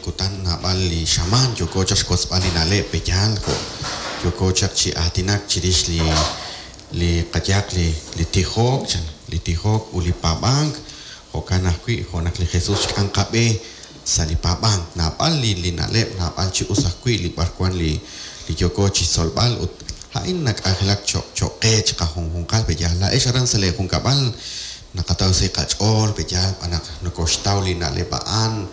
kutan, naab'al li xamaan yooko chaq xwotzb'al li na'leb' pe'yaal jo' yooko chaq chi aatinak chirix li li qayehaq li li tijok chan, li tijok ut li paab'ank, jo'kan ajwi' jo' naq li Jesus xk'am qab'e sa' li paab'ank. Naab'al li li na'leb', naab'al chi us ajwi' li b'arwan li li yooko chixtzolb'al ut a'in nak'anjelak choq' choq' qe chiqajunjunqal pe'yaal. Laa'ex aran sa' lee junkab'al naqataw sa' qach'ool pe'yaal xb'aan naq nokoxtaw li na'leb' a'an,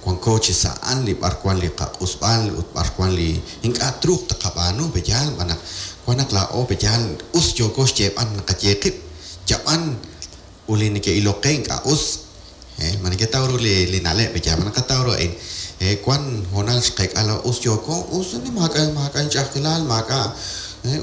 wanko chi sa' a'an li b'arwan li qaq'usb'al ut b'arwan li ink'a' truuq taqab'aanu pe'yaal xb'aan naq wan naq laa'o pe'yaal us yooko xyeeb'al naqaye qib' yab'an ut li neke'ilok qe ink'a' us. Ma neketaw ru li li na'leb' pe'yaal? Ma naqataw ru a'in? Wan hoonal xqeek'a laa'o us yooko, us maak'a' maak'a' inch'a'ajkilal, maak'a'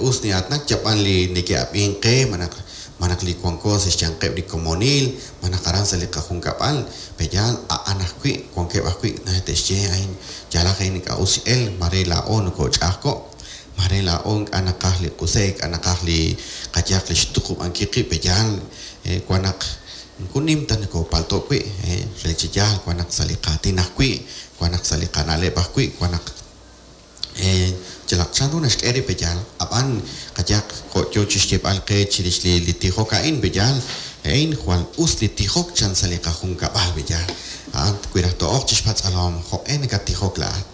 us nin'aatinak, yab'an li neke'ab'ink qe malaj malaj li wanko sa' xyanqeb' li komonil, malaj aran sa' li qajunkab'al, pe'yaal a'an ajwi' wankeb' ajwi' te'xye a'in yaalaq a'in ink'a' us x'el, mare laa'o nokoch'a'ajko', mare laa'o ink'a' naqaj li q'use'k, ink'a' naqaj li qayehaq li xtuqub'ankil qib' pe'yaal wan naq moko nim ta nokopalto' wi', re chi yaal wan naq sa' li qaatin ajwi', wan naq sa' li qana'leb' ajwi', wan naq yalaq chanru naxk'e rib' pe'yaal. Ab'an qayehaq jo' yo chi xyeeb'al qe chirix li li tijok a'in pe'yaal, a'in jwal us li tijok chan sa' li qajunkab'al pe'yaal. A'an wi raj to'oq chi xpatz'alom jo'q'e nakattijok laa'at,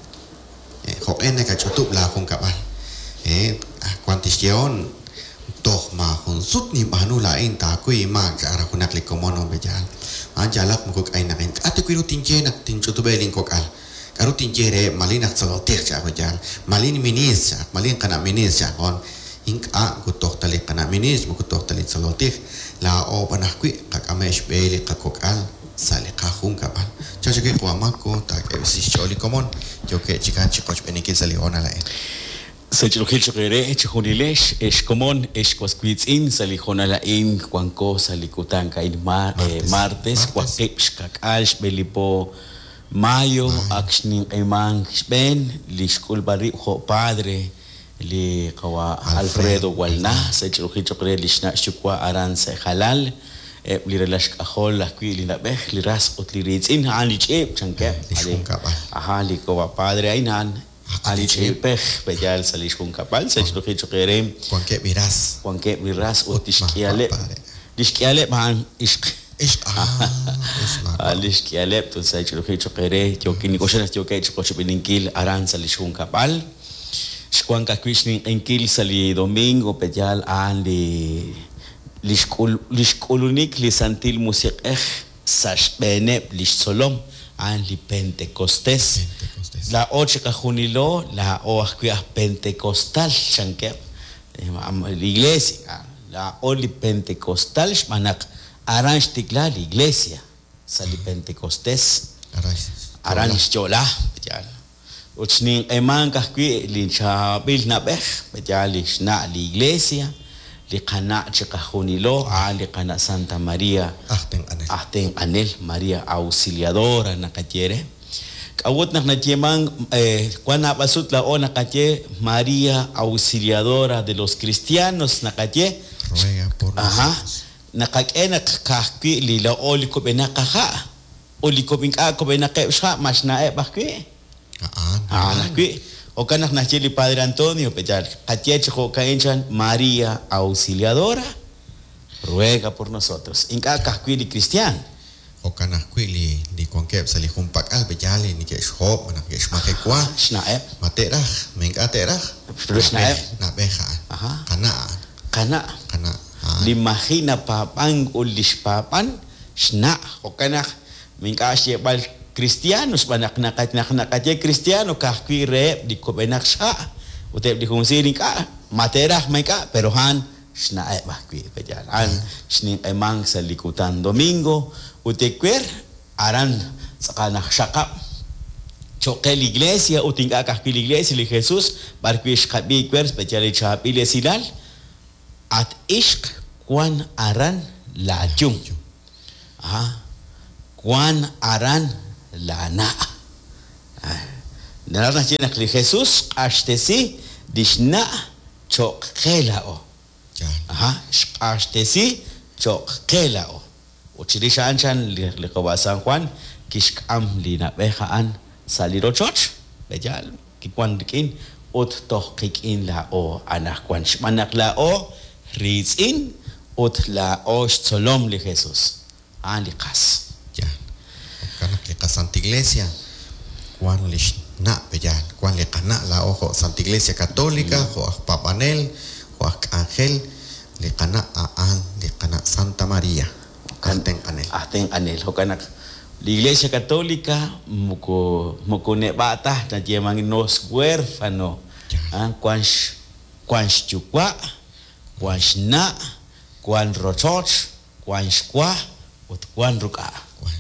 jo'q'e nakach'utub' laajunkab'al, wan tixyehon toj maajun sut ninb'aanu laa'in taakuy inmaak cha'aq raj junaq li komon on pe'yaal. A'an yaalaq moko k'aynaqin. K'a' ta wi' ru tinye naq tinch'utub'eb' linkok'al? K'aru tinye reheb'? Malin aj tzolol tij cha'aq pe'yaal, malin ministr cha'aq, malin qana' ministr cha'aq on. Ink'a' moko toj ta li qana' ministr, moko toj ta li tzolol tij, laa'o b'an ajwi' qak'ameb' xb'e li qakok'al sa' li qajunkab'al. Chan chaq wi' qawa' Marco taak'eb'si xch'ool li komon yookeb' chikan chi qochb'eeninkil sa' li hoonal a'in. Sa' ch'oolejil choq' eere chejunilex, ex komon, ex was wiitz'in, sa' li hoonal a'in wanko sa' li kutan a'in martes waqib' xka'k'aal xb'e li po Mayo ak xninq'ehimank xb'een li xk'ulb'al rib' jo' padre li qawa' Alfredo Walna sa' ch'oolejil choq' re lix na' xyuwa' aran sa' Jalal, eb' li ralal xk'ajol ajwi' li na'b'ej, li ras ut li riitz'in, a'an li ch'iip, chankeb'. Li xjunkab'al. Aja, li qawa' padre a'in a'an li ch'iipej pe'yaal sa' li xjunkab'al sa' ch'oolejil choq' eere. Wankeb' li ras. Wankeb' li ras ut lix k'ihaleb'. Lix k'ihaleb' a'an ixq. Ixq, ah, us maawa'. Lix k'ihaleb' ut sa' ch'oolejil choq' eere yookin nink'oxla naq yookeb' chiqochb'eeninkil aran sa' lix junkab'al. Xwank ajwi' xninq'ehinkil sa' li domingo pe'yaal a'an li lix k'ul lix k'ulunik li Santil Musiq'ej sa' xb'eeneb' lix tzolom, a'an li Pentecostés. Pentecostés. Laa'o chiqajunilo, laa'o ajwi' aj Pentecostal, chankeb' li Iglesia. Laa'o li Pentecostal xb'aan naq aran xtikla li Iglesia, sa' li Pentecostés. Aran Aran xyo'la, pe'yaal. Ut xninq'emank ajwi' li chaab'il na'b'ej, pe'yaal li xna' li Iglesia, li qana' chiqajunilo, a'an li qana' Santa María Aj tenq'anel. aj tenq'anel, María Auxiliadora naqaye re. K'a'ut naq nayeemank wan naab'al sut laa'o naqaye María Auxiliadora de los cristianos naqaye? Ruega por Ajá. nosotros. Naqak'e naq ka'ajwi' li laa'o li kub'enaq qaha' ut li ink'a' kub'enaqeb' xha' ma xna'eb' ajwi'. A'an. A'an ajwi'. Jo'kan naq naxye li Padre Antonio, pe'yaal qaye chi jo'ka'in chan María Auxiliadora ruega por nosotros. Ink'a' ka'ajwi' li cristian. Jo'kan ajwi' li li wankeb' sa' li junpak'al pe'yaal li neke'xhob' malaj neke'xmajewa. Xna'eb'. Ma te'raj, ma ink'a' te'raj. Pero xna'eb'. Na'b'ej a'an. Ajá. Qana' a'an. Qana'. Qana' a'an. Li maji' napaab'ank ut li xpaab'an xna'. Jo'kan naq ink'a' xyeeb'al cristiano xb'aan naq naq naqaye cristiano ka'ajwi' reheb' li kub'enaq xha' ut eb' li junsiil ink'a' ma te'raj ma ink'a' pero a'an xna'eb' ajwi' pe'yaal. A'an xninq'emank sa' li kutan domingo ut ewer aran tz'aqal naq xaqab' cho'q qe li Iglesia ut ink'a' ka'ajwi' li Iglesia li Jesus b'arwi' xqab'i ewer pe'yaal li chaab'il esilal at ixq wan aran laayum. Ajá. Wan aran laana'. Naraj naxye naq li Jesus xq'axtesi lix na' cho'q qe laa'o. Yaal. Ajá, xq'axtesi cho'q qe laa'o. Ut chirix a'an chan li qawa' San Juan kixk'am li na'b'ej a'an sa' li rochoch, pe'yaal? Kiwan rik'in ut toj qik'in laa'o anaqwan, xb'aan naq laa'o riitz'in ut laa'o xtzolom li Jesus. A'an li qas. Yaal. Jo'kan naq li qaSanta Iglesia wan lix na', pe'yaal? Wan li qana' laa'o jo' Santa Iglesia Católica, jo' aj paab'anel, jo' aj k'anjel, li qana' a'an li qana' Santa Maria, aj tenq'anel. Aj tenq'anel. Jo'kan naq li Iglesia Católica moko moko neb'a' ta, nayeeman no es huérfano. Yaal. Wan wan xyuwa', wan xna', wan rochoch, wan xwa ut wan ruk'a'. Wan.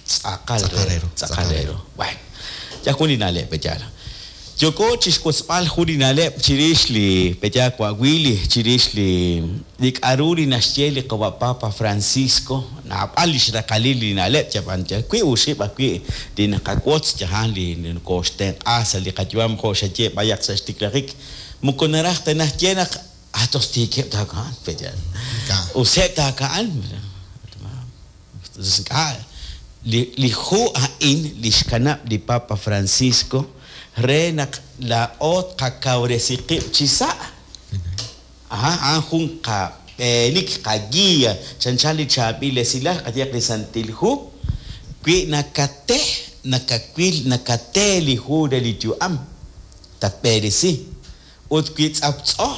Tz'aqal Tz'aqal re re ru, tz'aqal tz'aqal re re ru. Bueno, yal jun li na'leb', pe'yaal? Yooko chixwotzb'al jun li na'leb' chirix li pe'yaal wa' Willy, chirix li li k'a'ru li naxye li qawa' Papa Francisco, naab'al lix raqalil li na'leb' yab'an yal wiib' oxib' ajwi' li naqawotz yajan li nokooxtenq'a sa' li qayu'am jo' xaye b'ayaq sa' xtiklajik, moko naraj ta naxye naq ah tos tiikeb' taaka'an, pe'yaal? Ink'a'. Useb' taaka'an. Ink'a'. Li li hu a'in li xkanab' li Papa Francisco re naq laa'o tqakawresi qib' chi sa'. Aha, a'an jun qab'eenik, qaguía, chanchan li chaab'il esilal, qayehaq li Santil Hu, wi nakate, nakawil, nakate li hu re li yu'am, tatb'eresi. Ut wi tz'aptz'o,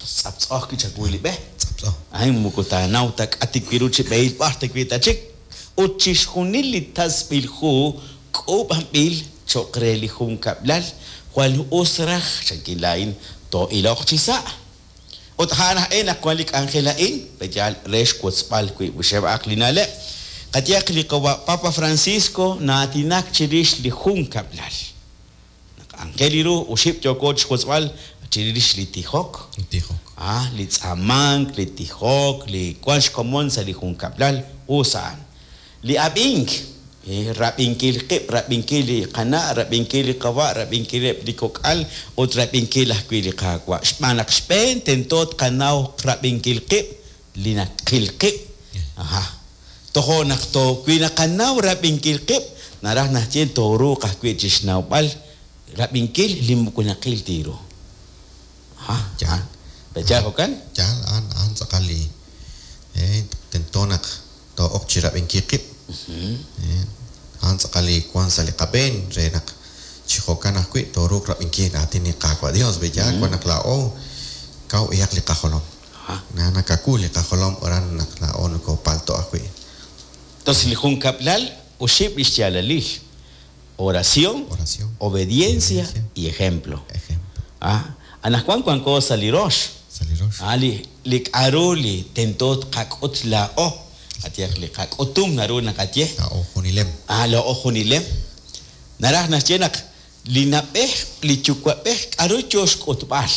tz'aptz'o ajwi' chawu li b'e. Tz'aptz'o. A'in moko taanaw ta k'a tikwi ru chi b'ehil b'ar ta wi ta chik. Ut chixjunil li tasb'il hu k'uub'anb'il cho'q re li junkab'lal, jwal us raj, chankin laa'in, too'iloq chi sa'. Ut a'an aj e naq wan li k'anjel a'in, pe'yaal re xwotzb'al wiib' oxib'aq li na'leb'. Qayehaq li qawa' Papa Francisco na'aatinak chirix li junkab'lal. Naq anjel li ru oxib' yooko chixwotzb'al chirix li tijok. Li tijok. Ah, li tz'aamank, li tijok, li wank xkomon sa' li junkab'lal, us a'an. Li ab'ink, rab'inkil qib', rab'inkil li qana', rab'inkil li qawa', rab'inkileb' li kok'al ut rab'inkil ajwi' li Qaawa'. Xb'aan naq xb'een tento tqanaw rab'inkil qib' li naqil qib'. Aha. Tojo' naq to wi naqanaw rab'inkil qib', naraj naxye tooruuq ajwi' chixnawb'al rab'inkil li moko naqil ta ru. Aha. Yaal. Pe'yaal jo'kan? Yaal, a'an a'an tz'aqal li tento naq too'ok chi rab'inkil qib'. A'an tz'aqal li wan sa' li qab'een re naq chi jo'kan ajwi' tooruuq rab'inkil raatin li Qaawa' Dios. Pe'yaal wan naq laa'o kaw b'ayaq li qajolom. Aha. Na nakawu li qajolom aran naq laa'o nokopalto ajwi'. Entonces li junkab'lal oxib' li xyaalalil. Oración, Oración, obediencia obediencia y ejemplo. Ejemplo. Ah, anaqwan wanko sa' li rox. Sa' li rox. Ah, li li k'a'ru li tento tqak'ut laa'o. Qayehaq li qak'utum naru naqaye. Laa'o junilem. Ah, laa'o junilem. Naraj naxye naq li na'b'ej, li yuwa'b'ej k'a'ru yo xk'utb'al.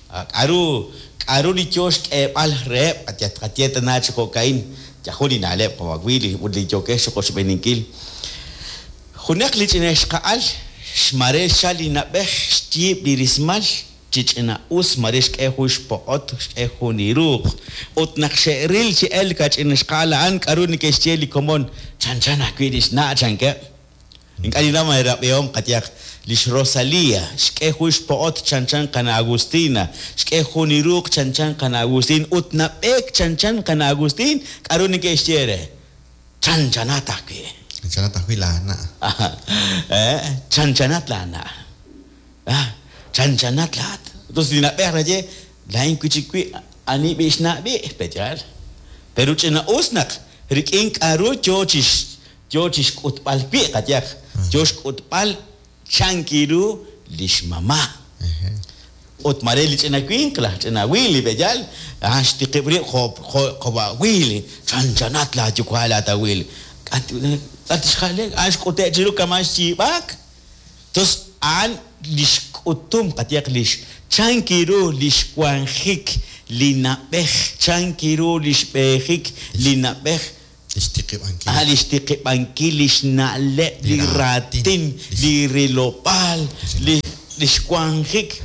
Ah, k'a'ru k'a'ru li yo xk'eeb'al reheb', qayehaq tqaye tana chi jo'ka'in, yajun li na'leb' qawa' Willy ut li yookex chiqochb'eeninkil. Junaq li ch'ina ixqa'al xmare xchal li na'b'ej xyiib' li rismal chi ch'ina us mare xk'e jun xpoq'ot, xk'e jun li ruuq. Ut naq xe'ril chi elk a ch'ina ixqa'al a'an k'a'ru neke'xye li komon, chanchan ajwi' lix na' chankeb'. Ink'a' ninnaw ma eerab'ihom qayehaq lix Rosalía, xk'e jun xpo'ot chanchan qana' Agustina, xk'e jun li ruuq chanchan qana' Agustín ut nab'eek chanchan qana' Agustín, k'a'ru neke'xye re? Chanchanat ajwi'. Chanchanat ajwi' laana'. Chanchanat laana'. Ah, chanchanat laat. Entonces li na'b'ej naxye, laa'in wi' chik wi' ani b'i' xna' b'i', pe'yaal. Pero ch'ina us naq rik'in k'a'ru yo chix yo chixk'utb'al wi' qayehaq, yo xk'utb'al chankiru lix mama'. Ut mare li ch'ina winq, laj ch'ina Willy, pe'yaal, a'an xtiqib' rib' jo' jo' qawa' Willy, chanchanat laayuwa' laat a Willy. K'a tixjale, a'an xk'ute' chiru kama' xyiib'aak. Entonces a'an lix k'utum qayehaq lix chankiru lix wanjik li na'b'ej, chankiru lix b'eejik li na'b'ej. Lix tiqib'ankil. Ah, lix tiqib'ankil, lix na'leb', li Li raatin, raatin, li rilob'aal, li lix wanjik.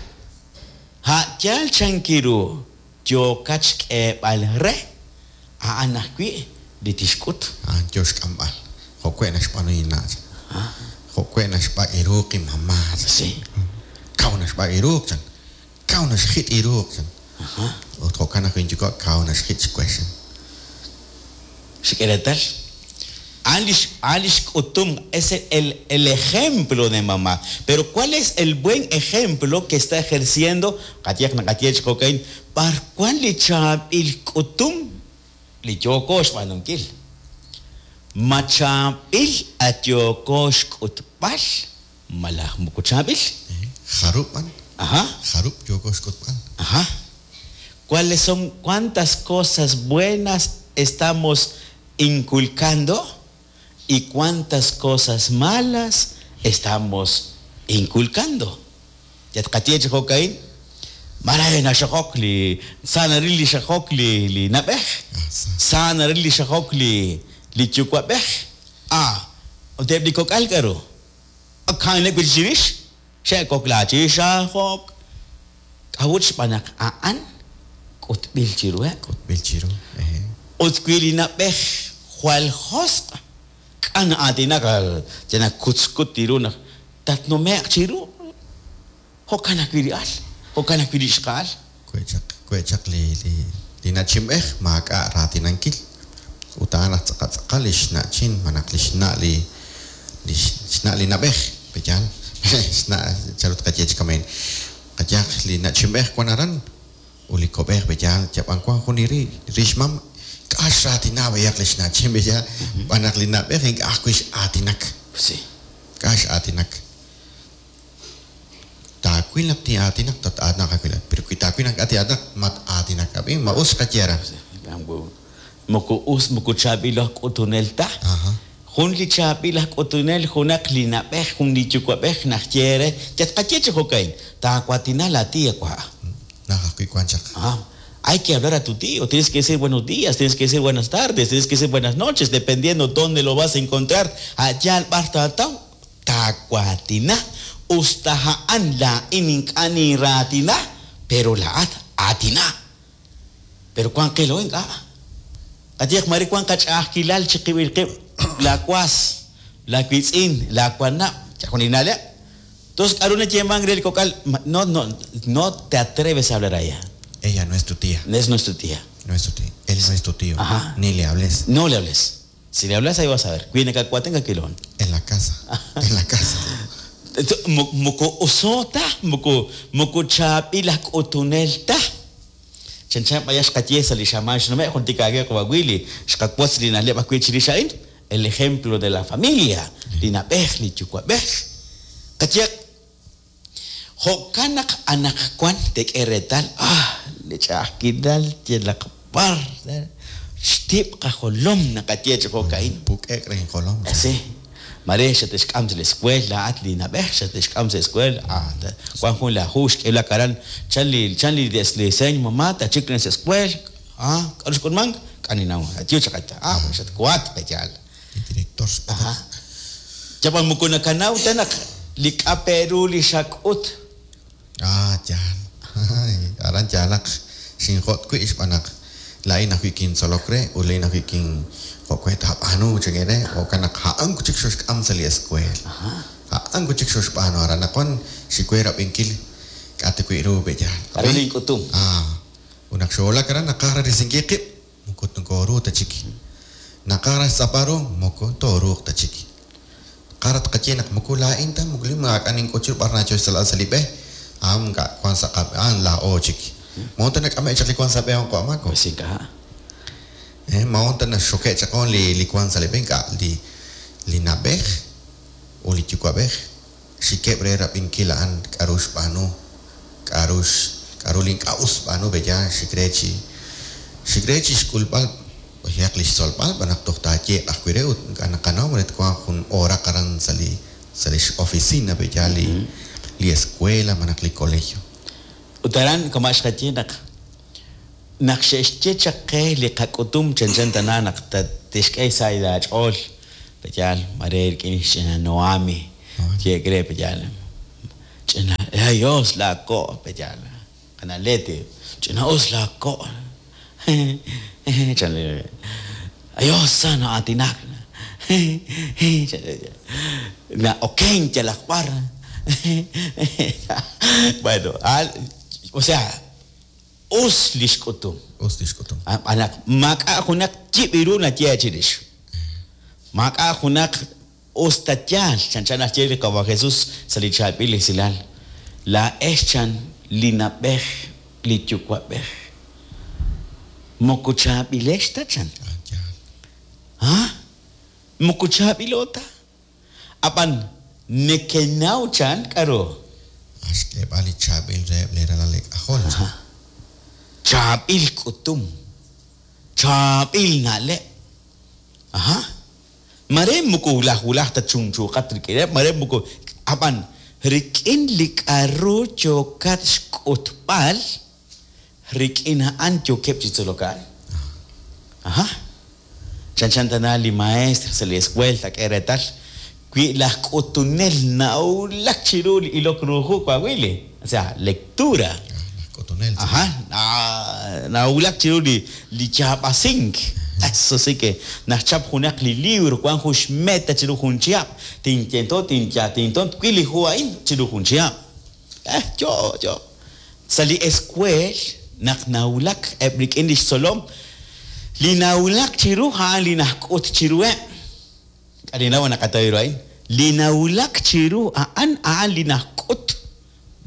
A' yaal chankiru yookat xk'eeb'al re, a'an ajwi' li tixk'ut. A'an yo xk'amb'al. Jo' we' naxb'aanu inna'. Jo'we' naxb'ak' iruuq inmamá. Sí. Kaw naxb'ak' iruuq chan. Kaw naxjit' iruuq chan. Ut jo'kan ajwi' inyuwa' kaw naxjit' xwex chan. Xik'e reetal. A'an lix, a'an lix k'utum, es el, el ejemplo de mamá. Pero ¿cuál es el buen ejemplo que está ejerciendo? Qayehaq naqaye chi jo'ka'in, b'ar wan li chaab'il k'utum li yooko xb'aanunkil? Ma chaab'il at yooko xk'utb'al malaj moko chaab'il? Jarub' b'an? Ajá. Jarub' yooko xk'utb'al? Ajá. ¿Cuáles son, cuántas cosas buenas estamos inculcando y cuántas cosas malas estamos inculcando? Yat qaye chi jo'ka'in, mare naxokok li sa naril li xajok li li nab'ej, Ah, sa. sa naril li xajok li li yuwa'b'ej. Ah, ut eb' li kok'al k'aru? Ka'aneb' wi' chirix, xe'kok chi xajok. K'a'ut xb'aan naq a'an k'utb'il chiruheb'. K'utb'il chiru. Ehe. Ut wi li nab'ej jwal josq', k'a na'aatinak yal nakutzkut chiru naq tatnume'q chiru. Jo'kan ajwi' li al, jo'kan ajwi' li ixqa'al. We' chaq, we' chaq li li li na'chinb'ej maak'a' raatinankil. Ut a'an aj tz'aqal tz'aqal li xna'chin malaj li xna' li li xna' li nab'ej, pe'yaal? Xna' chanru tqaye chi kama'in. Qayehaq li na'chinb'ej wan aran ut li kob'ej pe'yaal yab'an wan jun li ri rixmam k'a xraatina b'ayaq li xna'chin pe'yaal xb'aan naq li na'b'ej ink'a' ajwi' x'aatinak. Sí. K'a x'aatinak. Taawil naq tin'aatinaq tat-aatinaq ajwi' laa'at. Pero wi taawil naq ink'a' tin'aatinaq mat-aatinak. Ab'i ma us xqaye aran. Moko us, moko chaab'il aj k'utunel ta. Ajá. Jun li chaab'il aj k'utunel junaq li nab'ej, jun li yuwa'b'ej naxye re, yat qaye chi jo'ka'in, taawaatina laa tía wa'. Naj ajwi' wan chaq. Ah, hay que hablar a tu tío, tienes que decir buenos días, tienes que decir buenas tardes, tienes que decir buenas noches, dependiendo dónde lo vas a encontrar. Allá al bar taataw, taawaatina, usta ha'an laa'in ink'a' niraatina, pero laa'at aatina. Pero wan qilo ink'a'. Qayehaq mare wan qach'a'ajkilal chiqib'il qib', la was, la wiitz'in, la wanab', chajuninaleb'. Entonces, k'aru nayeeman re li kok'al, no, no, no te atreves a hablar a ella. Ella no es tu tía. No es nuestra tía. No es tu tía. Él no es tu tío. Ajá. Ni le hables. No le hables. Si le hablas, ahí vas a ver. Cuida kilon. En la casa. En la casa. Moko usota, moko moko chaab'il aj k'utunel ta. Chanchan b'ayaq xqaye sa' li xamaan xnume' juntik aage qawa' Willy, xqawotz li na'leb' ajwi' chirix a'in, el ejemplo de la familia, li nab'ej, li yuwa'b'ej. Qayehaq, jo'kan naq anaqwan teek'e reetal, ah, li ch'a'ajkilal yalaq b'ar, xtib' qajolom naqaye chi jo'ka'in. Puk'ek re injolom. Sí. Mare xatexk'am sa' la escuela, laa'at li nab'ej xatexk'am sa' escuela, ah, wan jun la hu xk'eelak aran, chan li chan li diseño mamá tachik sa' escuela, ah, k'aru xk'ulmank, k'a ninaw, ayu chaqata, ah, xatkuat pe'yaal. Li director. Ajá. Yab'an moko nakanaw ta naq li k'a Perú li xak'ut. Ah, yaal. Ay, aran yaalaq xinjot' wi' xb'aan naq laa'in ajwi' kintzolok re ut laa'in ajwi' kin jo'we taab'aanu chakere jo'kan naq a'an chik xoxk'am sa' li escuela. A'an chik xoxb'aanu aran naq wan xiwe rab'inkil k'a ta wi' ru pe'yaal. K'aru link'utum. Ah, ut naq xoolak aran naqaj risinkil qib' moko tooruuq ta chik. Naqaj raj xtz'apb'al ru moko tooruuq ta chik. Qarat qaye naq moko laa'in ta moko li maak'a' nink'ut chiru b'ar nacho xtzolb'al sa' li b'e. A'an ink'a' wan sa' qab' a'an laa'o chik. Mo'on ta nak'ame' chaq li wan sa' b'e a'an q'o'mako. Pues ink'a'. Mo'on ta naxoke' chaq on li li wan sa' li b'e ink'a' li li nab'ej ut li yuwa'b'ej xikeb' re rab'inkil a'an k'aru xb'aanu, k'aru k'aru li ink'a' us xb'aanu pe'yaal xik re chi xik re chi xk'ulb'al b'ayaq li xtzolb'al b'an naq toj taayeeq ajwi' re ut ink'a' naqanaw re twanq jun oraq aran sa' li sa' li x-oficina pe'yaal li li escuela malaj li colegio. Ut aran kama' xqaye naq naq xe'xye chaq qe li qak'utum chanchan tana naq tixk'e sa' laach'ool pe'yaal mare rik'in xch'ina Noami yeek re pe'yaal ch'ina ay us laako' pe'yaal qana' Leti ch'ina us laako' chan ay us sa na'aatinak. Na'okenk yalaq b'ar. Bueno, o sea, us li xk'utum. Us li xk'utum. Ab'an naq maak'a' junaq yib' ru nayehe' chirix. Maak'a' junaq us ta yaal, chanchan naxye li Qawa' Jesus sa' li chaab'il esilal, Laa'ex chan li na'b'ej li yuwa'b'ej. Moko chaab'ilex ta chan. Ha? Moko chaab'ilo ta. Ab'an nekenaw chan k'a'ru? A xk'eeb'al li chaab'il reheb' lee ralal eek'ajol chan. Chaab'il k'utum. Chaab'il na'leb'. Aha. Mare moko wulaj wulaj ta chunchuuqat rik'ineb', mare moko, ab'an rik'in li k'a'ru yookat xk'utb'al, rik'in a'an yookeb' chi tzolok a'an. Aha. Chanchan tana li maestr sa' li eskuel taak'e reetal, wi laj k'utunel na'wulak chiru li ilok ru hu, Coahuile, o sea, lectura. Laj k'utunel. Aha, na'wulak chiru li li yaab'asink. Eso sí que naxchap junaq li libro, wank jun xmeta chiru jun chihab', tintento tinya tinton twil li hu a'in chiru jun chihab'. Eh, yo, yo. Sa' li eskuel naq nawulak eb' rik'in li xtzolom, li nawulak chiru a'an li naxk'ut chiruheb'. K'a' ninnaw naqataw ru a'in? Li nawulak chiru a'an, a'an li naxk'ut.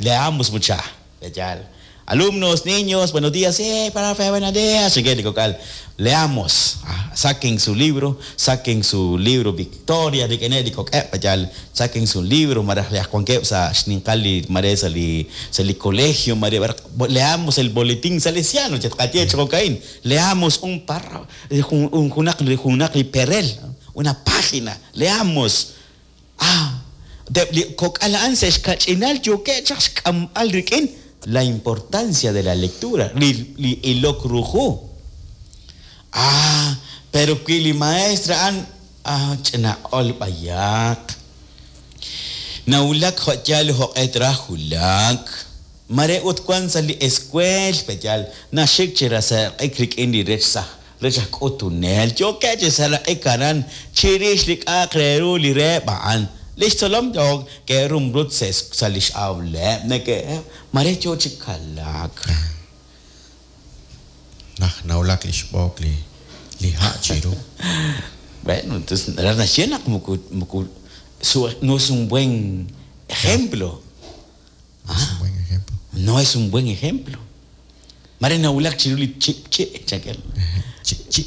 Leamos mucha. Yaal. Alumnos, niños, buenos días. ¡Eh, profe, buenos días! Chequen li kok'al. Leamos. Saquen su libro, saquen su libro Victoria, rik'ineb' li kok'eb', yaal. Saquen su libro, malaj li aj wankeb' sa' xninqal li mare sa' li sa' li colegio, mare leamos el boletín salesiano, chatqaye chi jo'ka'in. Leamos un párrafo, jun junaq junaq li perel, una página. Leamos. Ah, ut eb' li kok'al a'an sa' xkach'inal yookeb' chaq xk'amb'al rik'in la importancia de la lectura, li li ilok ru hu. Ah, pero wi li maestra a'an, ah, ch'ina q'ol b'ayaq, nawulak jo' yaal jo'q'e traj wulak, mare ut wan sa' li escuel, pe yaal naxik chi raseraq'ik rik'in li rech saj Rech aj k'utunel, yookeb' chi seraq'ik aran chirix li k'a'aq re ru li reheb' a'an. Lix tzolom yook ke'rumrut sa' lix awleb', neke' mare yoo chi kalaak. Naj nawulak lix b'ook li li ha' chiru. Bueno, entonces naraj naxye naq moko moko no es un buen ejemplo. No es un buen ejemplo. No es un buen ejemplo. Mare nawulak chiru li chipchi', chankeb'. Chipchi'.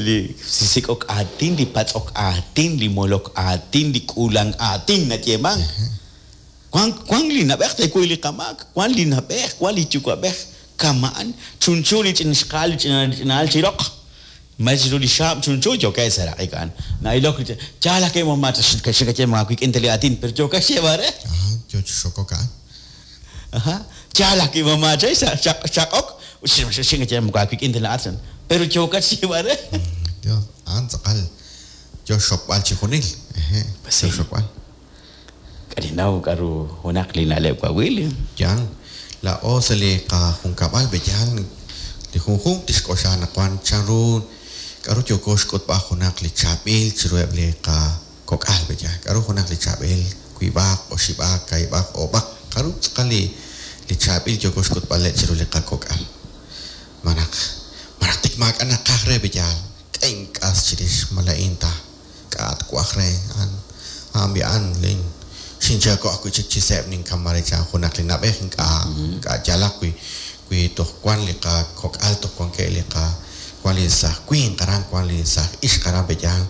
Li sik'ok aatin, li patz'ok aatin, li molok aatin, li k'uulank aatin nayeemank. Wank wank li na'b'ej teekuy li qamaak, wank li na'b'ej, wank li yuwa'b'ej kama'an, chunchu li ch'ina xqa'al li ch'ina ch'ina'al chi roq. Ma chiru li xaab' chunchu yookeb' xseeraq'ik a'an. Na'ilok li yaal ajwi' ma xinkaye ma wik'in ta li aatin, pero yookat xyeeb'al re. Aha, yo chi xokok a'an. Aha, yaal ajwi' ma maachay xchaq'ok, xinkaye moko aawik'in ta laa'at chan, pero yookat xyeeb'al re. Dios, a'an tz'aqal yo xxokb'al chi junil. Ehe, yo xxokb'al. K'a' ninnaw k'a'ru junaq li na'leb' wawil. Yaal, laa'o sa' li qajunkab'al b'eyal li junjunq tixk'oxla anaqwan chan ru k'a'ru yooko xk'utb'al junaq li chaab'il chiruheb' li qakok'al b'eyal, k'a'ru junaq li chaab'il, wiib'aq, oxib'aq, kaahib'aq, oob'aq, k'a'ru tz'aqal li li chaab'il yooko xk'utb'aleb' chiru li qakok'al. Malaj malaj tik maak'a' naqaj re b'eyal, k'e ink'as chirix ma laa'in ta. K'a' twaj re a'an? A'an b'i'an lin xinchaako' ajwi' chik chi seeb' ninkam mare chan junaq li na'b'ej ink'a' ink'a' yaalaq wi wi toj wan li qakok'al toj wankeb' li qa wan li saaj winq aran wan li saaj ixq aran pe yaal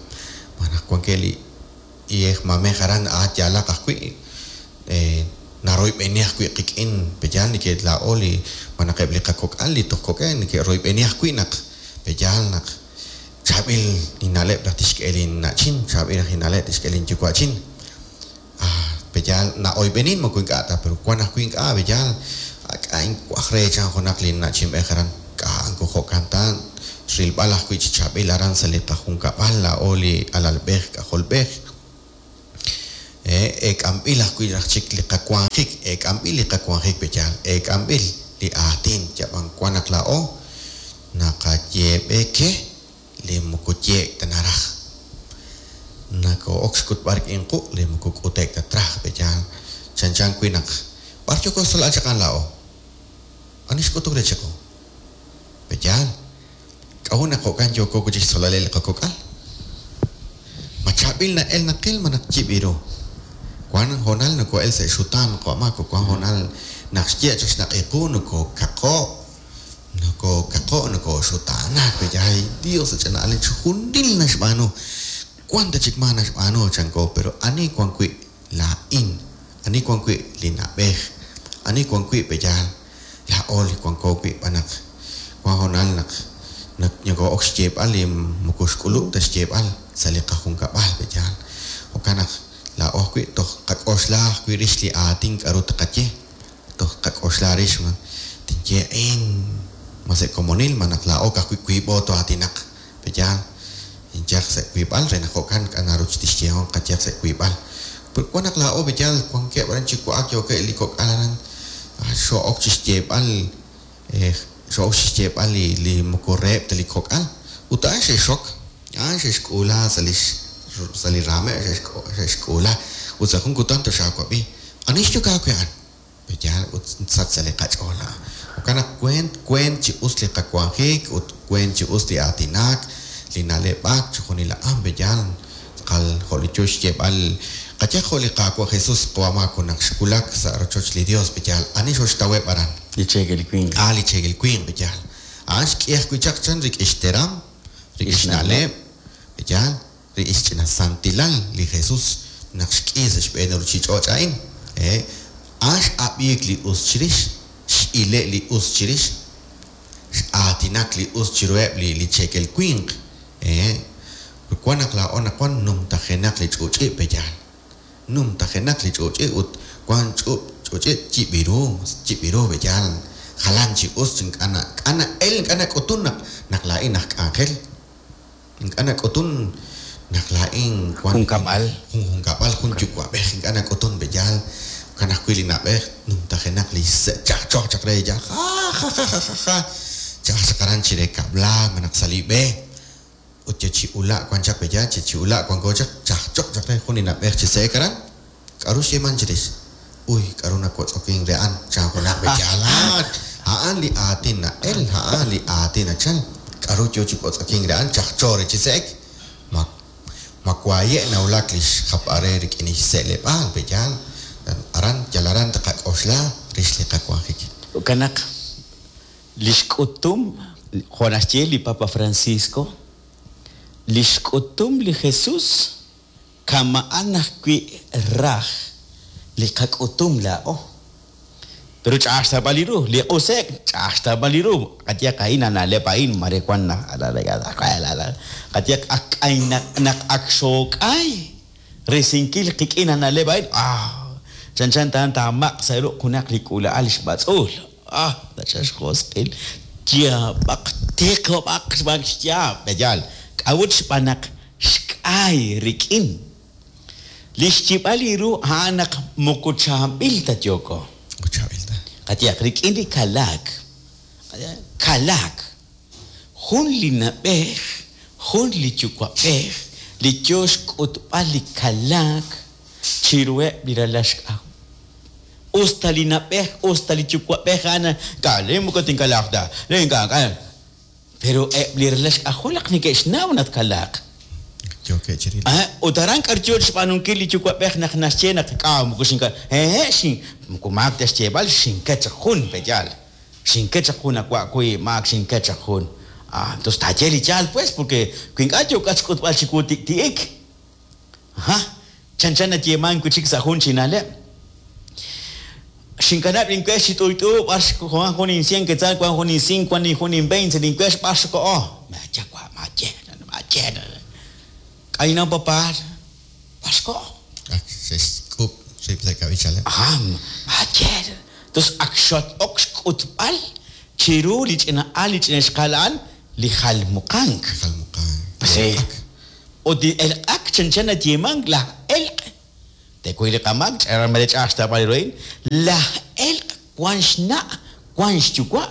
malaj wankeb' li iyej mamej aran a yaalaq ajwi' naroyb'eni ajwi' qik'in pe yaal neke' laa'o li malaj eb' li qakok'al li toj kok'eb' neke'royb'eni ajwi' naq pe yaal naq Chaab'il inna'leb' raj tixk'e linna'chin, chaab'il raj inna'leb' tixk'e linyuwa'chin. Ah, pe'yaal na'oyb'enin moko ink'a' ta, pero wan ajwi' ink'a', pe'yaal k'a' inwaj re chan junaq linna'chinb'ej aran, k'a' moko jo'kan ta, rilb'al ajwi' chi chaab'il aran sa' li qajunkab'al laa'o li alalb'ej k'ajolb'ej. Eek'anb'il ajwi' raj chik li qawanjik, eek'anb'il li qawanjik pe'yaal, eek'anb'il li aatin, yab'an wan naq laa'o naqayeeb'e ke li moko yeek' ta naraj. Nakoo'ok xk'utb'al rik'in quq' li moko k'ute'k ta traj pe'yaal chanchan wi' naq b'ar yooko xtzolb'al chaq a'an laa'o? Ani xk'utuk re chiqu? Pe'yaal? K'a'ut naq jo'kan yooko wi' chik xtzolb'aleb' li qakok'al? Ma chaab'il na'el naqil malaj yib' ru? Wank hoonal nokoo'el sa' xutaan qawa' Maco, wank hoonal naq xye' chaq xnaq'i qu nokookaqo', nokookaqo', nokooxutaanak pe'yaal, ay Dios ch'ina'alil chixjunil naxb'aanu, wank ta chik maa naxb'aanu chanko, pero ani wank wi' laa'in, ani wank wi' li na'b'ej, ani wank wi' pe'yaal laa'o li wanko wi' b'an naq wank hoonal naq nokoo'ok xyeeb'al li moko xk'ulub' ta xyeeb'al sa' li qajunkab'al pe'yaal. Jo'kan naq laa'o ajwi' toj qak'oxla ajwi' rix li aatin k'aru tqaye, toj tqak'oxla rix ma tinye a'in ma sa' komonil ma naq laa'o ka'ajwi' wiib'o too'aatinaq pe'yaal. Inyaq sa' wiib'al re naq jo'kan k'a' naru tixyehom qayehaq sa' wiib'al. Pero wan naq laa'o pe'yaal wankeb' aran chi wa'ak yookeb' li kok'al aran xoo'ok chi xyeeb'al xoo'ok chi xyeeb'al li li moko reheb' ta li kok'al ut a'an xe'xxok, a'an xe'xk'uula sa' li sa' li raameb' xe'xk'uula ut sa' jun kutan toxaawab'i ani xyok aawe a'an? Pe'yaal ut sach sa' li qach'ool a'an. Jo'kan naq weent weent chi us li qawanjik ut weent chi us li aatinak, li na'leb'ak, chixjunil a'an pe'yaal tz'aqal jo' li yo xyeeb'al qayehaq jo' li Qaawa' Jesús qawa' Maco naq xwulak sa' rochoch li Dios pe'yaal ani xoxtaweb' aran? Li cheekel winq. A' li cheekel winq pe'yaal. A'an xk'i ajwi' chaq chan rik'in xteram, rik'in xna'leb', pe'yaal. Rik'in xch'ina santilal li Jesus naq xk'i sa' xb'een li ruchich'och' a'in, ee, a'an x'ab'iik li us chirix, x'ile' li us chirix, x'aatinak li us chiruheb' li li cheekel winq, ee, ut wan naq laa'o naqwan numtajenaq li ch'uch'i' pe'yaal? Numtajenaq li ch'uch'i' ut wan ch'ub' ch'uch'i' yib' ru, yib' ru pe'yaal? Jalan chi us chi ink'a' na, ink'a' na'el, ink'a' nak'utun naq naq laa'in aj k'anjel. Ink'a' nak'utun naq laa'in wan Junkab'al. jun junkab'al, jun yuwa'b'ej, ink'a' nak'utun pe'yaal. Jo'kan ajwi' li na'b'ej numtajenaq li xse' chajchoj chaq re yaal jajajajaja cha'aj chaq aran chire kab'laak malaj sa' li b'e ut yal chi ula' wan chaq pe'yaal, chi chi ula' wanko chaq chajchoj chaq re jun li na'b'ej chi se'ek aran. K'aru xyeeman chirix? Uy, k'aru nawotz'okink re a'an? Chan junaq pe'yaal. A'an li aatin na'el, a'an li aatin nachal. K'aru yo chi wotz'okink re a'an? Chajcho re chi se'ek. Ma, ma waaye' nawulak li xjapb'al re rik'in li xse'leb'aal pe'yaal? Aran, yal aran tqak'oxla rix li qawanjik. Jo'kan naq li xk'utum, jo' naxye li Papa Francisco, li xk'utum li Jesus Kama'an ajwi' raj li qak'utum laa'o. Pero ch'a'aj xtawb'al li ru. Li q'use'k ch'a'aj xtawb'al li ru. Qayehaq a'in a na'leb' a'in mare wan qayehaq ak k'aynaq naq ak xook'ay risinkil qik'in a na'leb' a'in, ah! Chanchan ta taamaq' sa' ruq' junaq li k'uula'al xb'atz'uul. Ah! Nachal xjosq'il. Yaab'aq, tiqob'aq xb'aan xyaab'. Yaal. K'a'ut? Xb'aan naq Xk'ay rik'in. Li xyib'al li ru a'an naq moko chaab'il ta yooko. Moko chaab'il ta. Qayehaq, rik'in li kalaak. Kalaak. Jun li na'b'ej, jun li yuwa'b'ej li yoo xk'utb'al li kalaak chiruheb' li ralal xk'ajol. Us ta li na'b'ej, us ta li yuwa'b'ej a'an, Ink'a', laa'in moko tinkalaaq ta, laa'in ink'a', ink'a'. Pero eb' li ralal xk'ajol naq neke'xnaw naq tkalaaq. Yookeb' chi rilb'al. Ut aran k'aru yoo xb'aanunkil li yuwa'b'ej naq naxye naq k'a' moko xinka hehe' xin moko maak ta xyeeb'al xinket chaq jun pe'yaal xinket chaq jun awa' wi maak xinket chaq jun ah entonces taaye li yaal pues porque wi ink'a' yookat xk'utb'al chiwu tik'ti'ik Aha, chanchan nayeemank wi' chik sa' jun chi na'leb'. Xinkanab' linwex chi t'uyt'u b'ar wank jun insien quetzal, wank jun insink, wank jun inveinte, linwex b'ar xkoho. Maaye wa', maaye, maaye. K'ayno papá, b'ar xkoho. Ak xe'xk'ub' rib' sa' kab'ichaleb'. Aha, maaye. Tos ak xat-ok xk'utb'al chiru li ch'ina al, li ch'ina ixqa'al a'an, li jalmuqank. Li jalmuqank. Sí. Ut li elq'ak chanchan nayeemank laj elq', teekuy li qamaak, mare ch'a'aj xtawb'al ru a'in, laj elq' wank xna' wank xyuwa'.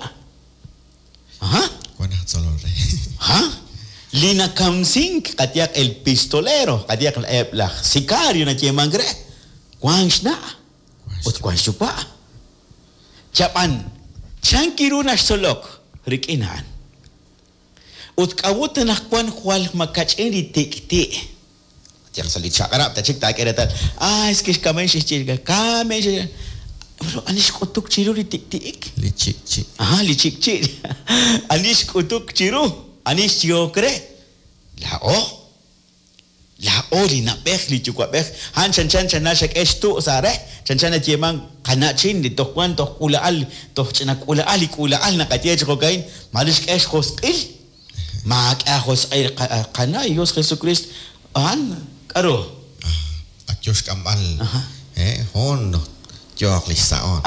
Aha. Wank aj tzolol re. Aha. Li nakamsink qayehaq el pistolero, qayehaq eb' laj sicario nayeemank re, wank xna' ut wank xyuwa'. Chab'an, chan kiru naxtzolok rik'in a'an? Ut k'a'ut anaqwan jwal makach'in li tik'ti'? Yal sa' li chaq'rab' ta chik taak'e reetal, ah, es que xkamen xe'xye, kamen xe'xye. Pero ani xk'utuk chiru li tik'ti'ik? Li chik'chi'. Ajá, li chik'chi'. Ani xk'utuk chiru? Ani xyehok re? Laa'o. Laa'o li na'b'ej, li yuwa'b'ej. A'an chanchan chana xak'e xtu' sa' re, chanchan nayeeman qana'chin li toj wan toj k'uula'al, toj ch'ina k'uula'al li k'uula'al naqaye chi jo'ka'in, maare xk'e xjosq'il. Maak'e aajosq'il qana' Dios Jesucristo. A'an k'a'ru? Ak yo xk'amb'al, hoon yooq li xsa'oon.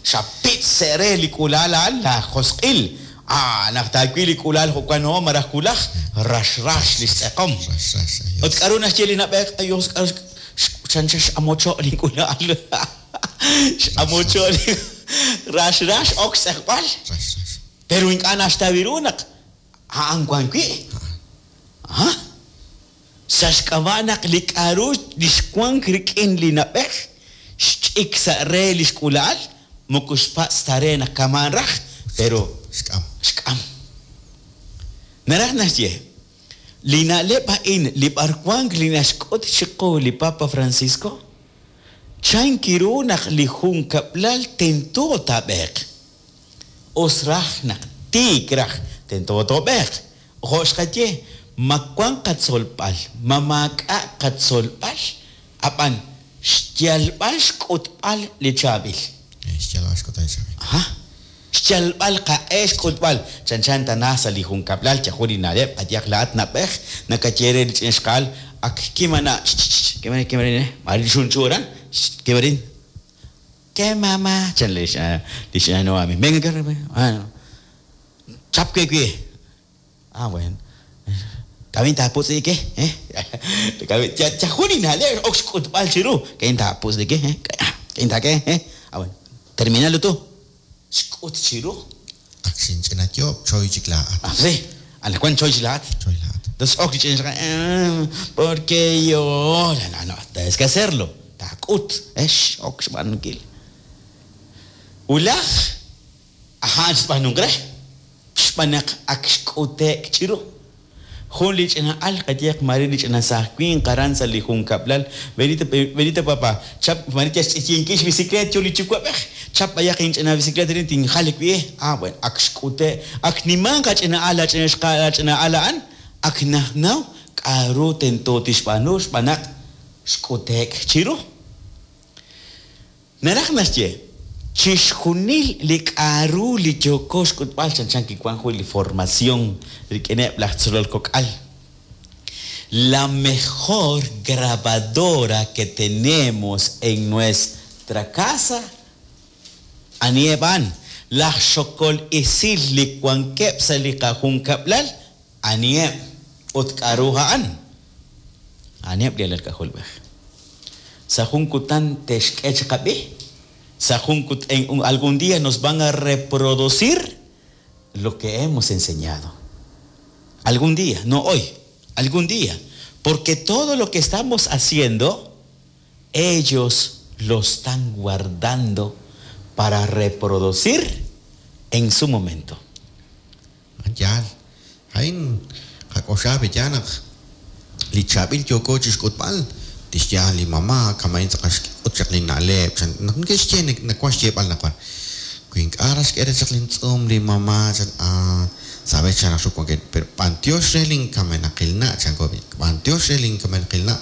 Xapitz' sa' re li k'uula'al a'an laajosq'il. Naq taawil li k'uula'al jo'kan ho malaj wulaj, rax rax li xtz'eqom. Rax rax, ayos. Ut k'a'ru naxye li na'b'ej? Ayos, k'a'ru chanchan x'amocho' li k'uula'al. X'amocho' li rax rax ok xtz'eqb'al. Rax rax. Pero ink'a' naxtaw ru naq a'an wan wi'. Aha. Sa' xk'ab'a' naq li k'a'ru li xwank rik'in li na'b'ej xch'ik sa' re li xk'uula'al, moko xpatz' ta re naq kama'an raj, pero Xk'am. Xk'am. Naraj naxye, li na'leb' a'in li b'arwank li naxk'ut chiqu li Papa Francisco, chan kiru naq li junkab'lal tento taab'eeq. Us raj naq tiik raj tento toob'eeq. Jo' xqaye, ma wank qatzolb'al, ma maak'a' qatzolb'al, ab'an xyalb'al xk'utb'al li chaab'il. Xyalb'al xk'utb'al li chaab'il. Aha. Xyalb'al qaq'e xk'utb'al. Chanchan tana sa' li junkab'lal yajun li na'leb' qayehaq laa'at na'b'ej nakaye re li ch'ina xqa'al ak kimana' kimarin kimarin mare li xunchu aran kimarin. ¿Qué mamá? Chan li x'Noemi. Venga, venga. Chap we wi. Ah, bueno. K'a'in taaputz'ike, eh? Yajun li na'leb' ok xk'utb'al chiru. K'a'in taaputz'ike, eh? K'a'in taak'e, eh? Ah, bueno. Terminalo tú. Xk'ut chiru. Ak xinch'ina yoob' choy chik laa'at. Ah, sí. Anaqwan choy chik laa'at. Choy laa'at. Entonces ok li ch'ina porque yo no, no, tienes que hacerlo. Taak'ut, eh, ok xb'aanunkil. Wulaj, a'an xb'aanunk re, xb'aan naq ak xk'ute'k chiru. Jun li ch'ina al qayehaq mare li ch'ina saaj winq aran sa' li junkab'lal. Benito, Benito papá, chap mare yal xch'iyinkil xbicicleta yo li yuwa'b'ej. Chap b'ayaq inch'ina bicicleta rin tinjal wi'. Ah, bueno, ak xk'ute', ak nimanq ach'ina al ach'ina xqa'al ach'ina al a'an, ak najnaw k'a'ru tento tixb'aanu xb'aan naq xk'ute'k chiru. Naraj naxye, chixjunil li k'a'ru li yooko xk'utb'al chanchan kiwan jun li formación rik'ineb' laj tzolol kok'al. La mejor grabadora que tenemos en nuestra casa, aniheb' a'an, laj xokol esil li wankeb' sa' li qajunkab'lal, aniheb' ut k'a'ru a'an. Aniheb' li alal k'ajolb'ej. Sa' jun kutan te'xk'e chiqab'i, sa' jun kut en algún día nos van a reproducir lo que hemos enseñado. Algún día, no hoy, algún día. Porque todo lo que estamos haciendo, ellos lo están guardando para reproducir en su momento. Yaal, a'in qak'oxla b'eya naq li chaab'il yooko chixk'utb'al tixye li mamá kama'in tz'aqal xk'ut chaq li na'leb' chan naq neke'xye nawan xyeeb'al naqwan wi ink'a' raj xk'e re chaq lintz'uum li mamá chan ah sabes chan raj wankeb' pero b'antiox re linkamenaqil na' chanko b'antiox re linkamenaqil na'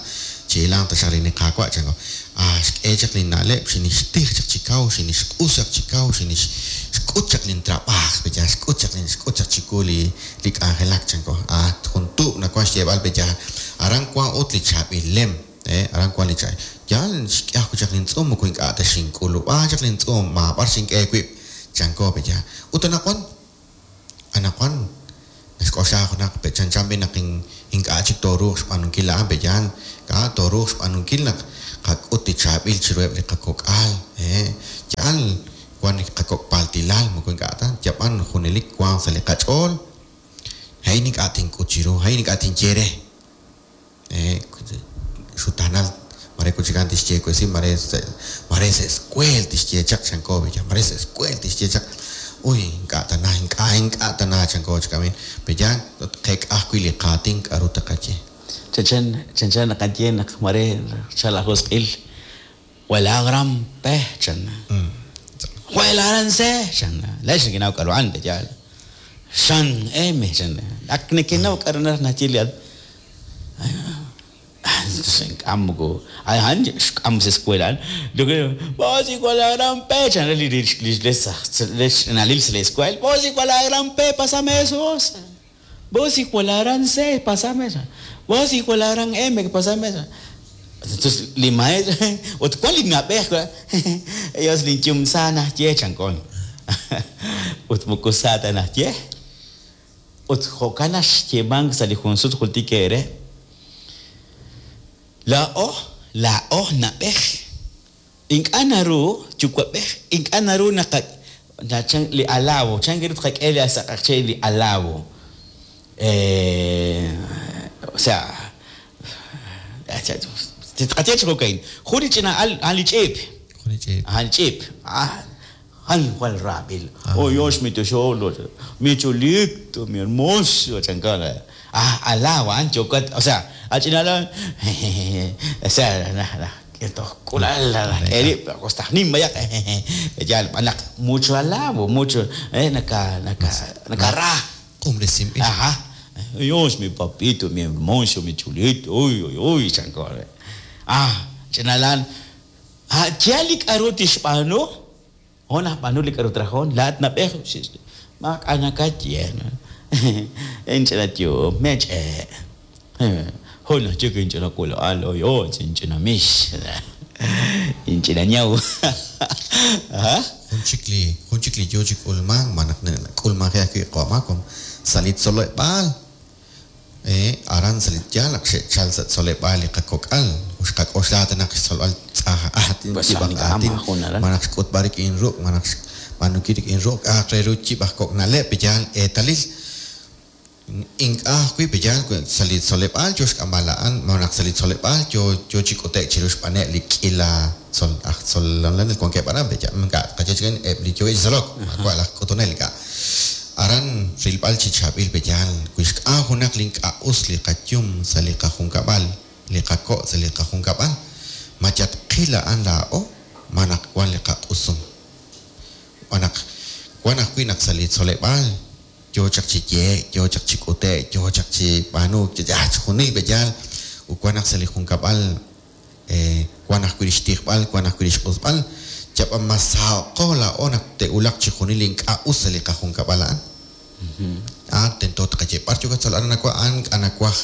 chi'ilanq taxaq li niqaawa' chanko ah xk'e chaq li na'leb' xinixtij chaq chi kaw xinixq'us chaq chi kaw xinixk'ut chaq lintrab'aaj b'eya xk'ut chaq xk'ut chaq chiwu li li k'anjelak chanko ah jun tuub' nawan xyeeb'al b'eya aran wan ut li chaab'il lem aran wan li chaab'il yaal xk'e ajwi' chaq lintz'uum moko ink'a' ta xink'ulub'a chaq lintz'uum maab'ar xink'e wib' chanko b'eya ut anaqwan anaqwan naxk'oxla junaq chanchan b'i naq ink'a' chik tooruuq xb'aanunkil a'an b'eyan k'a' tooruuq xb'aanunkil naq qak'ut li chaab'il chiruheb' li qakok'al yaal wan li qakok' paltilal moko ink'a' ta yab'an junelik wank sa' li qach'ool. A'in ink'a' tink'ut chiru, a'in ink'a' tinye re. Xutaanal mare kuchikan tixye wesi, mare mare sa' escuel tixye chaq chanko, mare sa' escuel tixye chaq. Uy, ink'a' tana, ink'a' ink'a' tana chanko chi k'amin. Pe'yaal tqeek'a ajwi' li qaatin k'a'ru taqaye. Chanchan chanchan naqaye naq mare xchal ajosq'il Jwal gran pe chan. Jwal aran se chan. Laa'ex nekenaw k'a'ru a'an, pe'yaal? Xan M chan. Ak nekenaw k'a'ru naraj naxye li Ink'a' moko a'an xk'am sa' escuela a'an. Vos hijo de la gran P chan re li rech ch'inalil sa' li escuela. Vos hijo de la gran P, pásame eso vos. Vos hijo de la gran C, pásame eso. Vos hijo de la gran M, pásame eso. Entonces li maestro ut wan li na'b'ej ellos linyum sa naxye chanko. Ut moko sa ta naxye. Ut jo'kan naxyeemank sa' li jun sut jultik eere. Laa'o, laa'o na'b'ej. Ink'a' naru yuwa'b'ej, ink'a' naru naqa li alabo, chan ru tqak'e li sa' q'eqchi' li alabo. O sea, tqaye chi jo'ka'in, jun li ch'ina al, a'an li ch'iip. Jun li ch'iip. A'an li ch'iip. A'an jwal raab'il. Oh, Dios, mi tesoro, mi chulito, mi hermoso, chanko. Ah, alabo, a'an yookat, o sea, al ch'ina al, o sea, toj k'ulal k'e rib', toj nim b'ayaq, yaal b'anaq mucho alabo, mucho, naka naka nakara. Q'umresinb'il. Ajá. Dios, mi papito, mi hermoso, mi chulito, uy, uy, uy, chanko. Ah, ch'inalan. Ah, yaal li k'a'ru tixb'aanu, hon najb'aanu li k'a'ru trajon, laa'at nab'ej, maak'a' nakaye. Inch'ina yu'um, mech'e'. Jun ajchik inch'ina k'ula'al, oy, oy, inch'ina mix. Inch'ina ñaw. Ajá. Jun chik li jun chik li yoo chi k'ulmank ma naq nak'ulmanje ajwi' qo'amakom sa' li tzoleb'aal aran sa' li yaal naq xe'chal sa' tzoleb'aal li qakok'al xqak'oxla ta naq xtzolb'al tz'aj aatin yib' aj aatin ma naq xk'utb'al rik'in ruq' ma naq xb'aanunkil rik'in ruq' k'a'aq re ru yib' aj kok' na'leb' pe'yaal eetalil ink'a' ajwi' pe'yaal sa' li tzoleb'aal yoo xk'amb'al a'an ma naq sa' li tzoleb'aal yoo yoo chi k'ute'k chiru xb'aaneb' li k'ila tzol aj tzolonel wankeb' aran pe'yaal ink'a' tqaye chi eb' li yookeb' chi tzolok maawa' laj k'utunel ink'a' aran rilb'al chi chaab'il pe'yaal wi xk'am junaq li ink'a' us li qayum sa' li qajunkab'al li qako' sa' li qajunkab'al ma yatqil a'an laa'o ma naq wan li qaq'usum xb'aan naq wan ajwi' naq sa' li tzoleb'aal yoo chaq chi yehe'k, yoo chaq chi k'ute'k, yoo chaq chi b'aanuuk, chixjunil pe'yaal ut wan naq sa' li junkab'al wan ajwi' li xtijb'al, wan ajwi' li xq'usb'al, yab'an mas saho'qo laa'o naq te'wulaq chixjunil li ink'a' us sa' li qajunkab'al a'an. A'an tento tqaye b'ar yookat tzol aran nawa' a'an ink'a' nawaj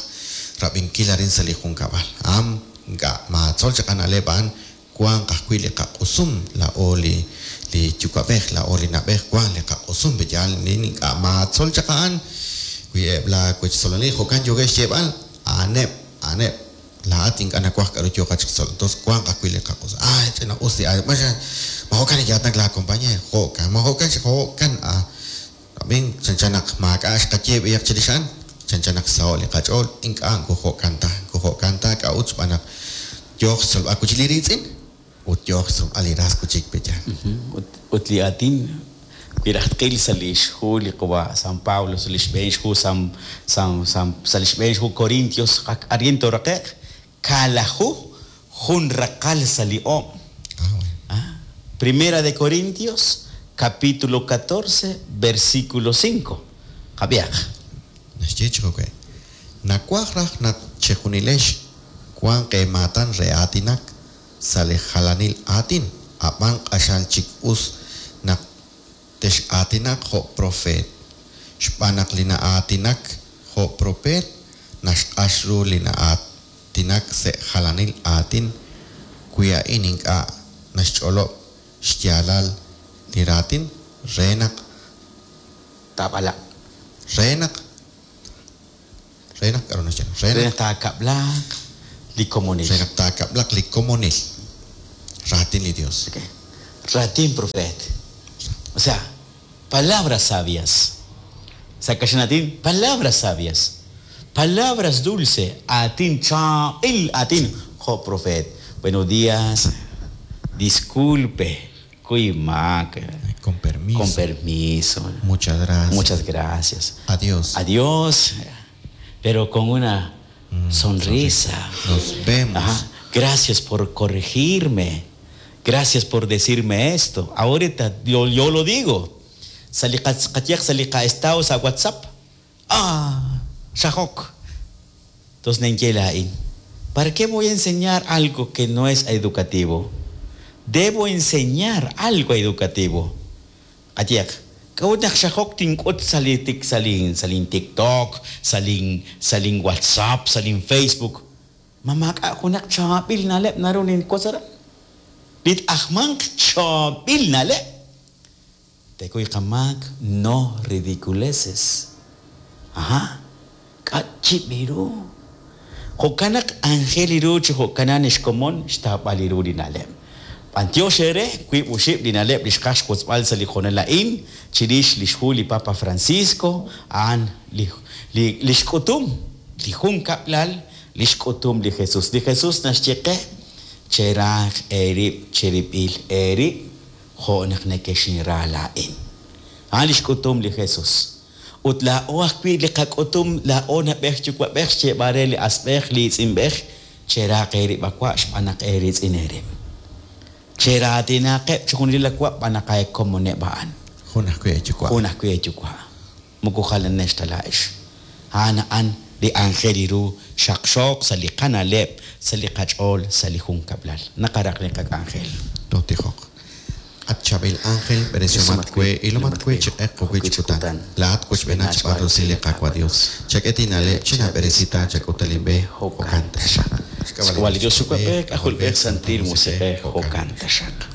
rab'inkil arin sa' li junkab'al. A'an ink'a' maatzol chaq a na'leb' a'an wanq ajwi' li qaq'usum laa'o li li yuwa'b'ej, laa'o li na'b'ej wank li qaq'usum pe'yaal ink'a' maatzol chaq a'an wi eb' la wechtzolonil jo'kan yookeb' xyeeb'al a'aneb' a'aneb' laa'at ink'a' nawaj k'a'ru yooqat chi xtzol entonces wanq ajwi' li qaq'usum ah ch'ina us li ma jo'kan neke'aatinak la compañero jo'kan ma jo'kan jo'kan ah ab'in chanchan naq maak'a' xqaye b'ayaq chirix a'an chanchan naq xsaho' li qach'ool ink'a' jo'kan ta jo'kan ta k'a'ut xb'aan naq yooq xtzolb'al wi' chik li riitz'in ut yooq xtzolb'al li ras wi' chik pe'yaal. Ut li aatin wi raj tqil sa' li xhu li qawa' San Pablo sa' li xb'een xhu San San San sa' li xb'een xhu Corintios arin tooraqe'q kaalaju jun raqal sa' li oob'. Primera de Corintios capítulo 14 versículo 5. Qab'ihaq. Naxye chi jo'kan. Nawaj raj naq chejunilex wanq eemaatan re aatinak sa' li jalanil aatin, ab'an q'axal chik us naq tex'aatinaq jo' profeet. Xb'aan naq li na'aatinak jo' profeet naxq'ax ru li na'aatinak sa' jalanil aatin wi a'in ink'a' naxch'olob' xyaalal li raatin re naq Taab'alaq. Re naq re naq k'a'ru naxye re naq taakab'laq li komonil. Re naq taakab'laq li komonil. Raatin li Dios. Okay. Raatin profeet. O sea, palabras sabias. Sa' kaxlan aatin, palabras sabias, palabras dulce, aatin chaab'il aatin jo' profeet. Buenos días, disculpe, kuy maak. Con permiso. Con permiso. Muchas gracias. Muchas gracias. Adiós. Adiós. Pero con una sonrisa. Nos vemos. Ajá. Gracias por corregirme. Gracias por decirme esto. Ahorita yo, yo lo digo. Saliqa saliqa estado sa WhatsApp. Ah, xajok. Entonces nenchelain. ¿Para qué voy a enseñar algo que no es educativo? Debo enseñar algo educativo. Atiak, kawat nak xajok tink'ut sali tik salin salin TikTok, salin salin WhatsApp, salin Facebook. Mamaka junak chabil nalep narunin kosara. Lit ahmank chabil nalep. Tekuy kamak no ridiculeces. Aha. Kachibiru. Jokanak angeliru chi jokanan ixkomon xtabaliru linaleb. Antioxere, kuib uxib linaleb lixkax kutzbal sa lijonelain, chirix lixhu li Papa Francisco, an li li lixkutum, li junkaplal, lixkutum li Jesus. Li Jesus naxyeqe, cheraj erib, cheripil erib, jonak nekexinra lain. An lixkutum li Jesus. Ut la o ajwi' li qak'utum la o nab'ej yuwa'b'ej xyeeb'al li asb'ej li itz'inb'ej cheraq eerib' awa' xb'aan naq eeritz'in eerib'. Cheraatinaqeb' chijunil awa' b'aan naq aekomoneb' a'an. Jun ajwi' eeyuwa'. Jun ajwi' eeyuwa'. Moko jalanex ta laa'ex. A'an a'an li anjel iru xaqxooq sa' li qana'leb', sa' li qach'ool, sa' li junkab'lal. Naqaraq li qak'anjel. Totijoq. At chabil ángel, beresiomat kwe, ilomat kwe chiq'eq kuwi chikutan. Laat kuchb'ena chb'al rusil li Qaawa' Dios. Chak'etinale, china beresita, chak'utalimbe, jo'kan taxaq. Xk'ab'a' li Dios Yuwa'b'ej, K'ajolb'ej, Santil Musiq'ej, jo'kan taxaq.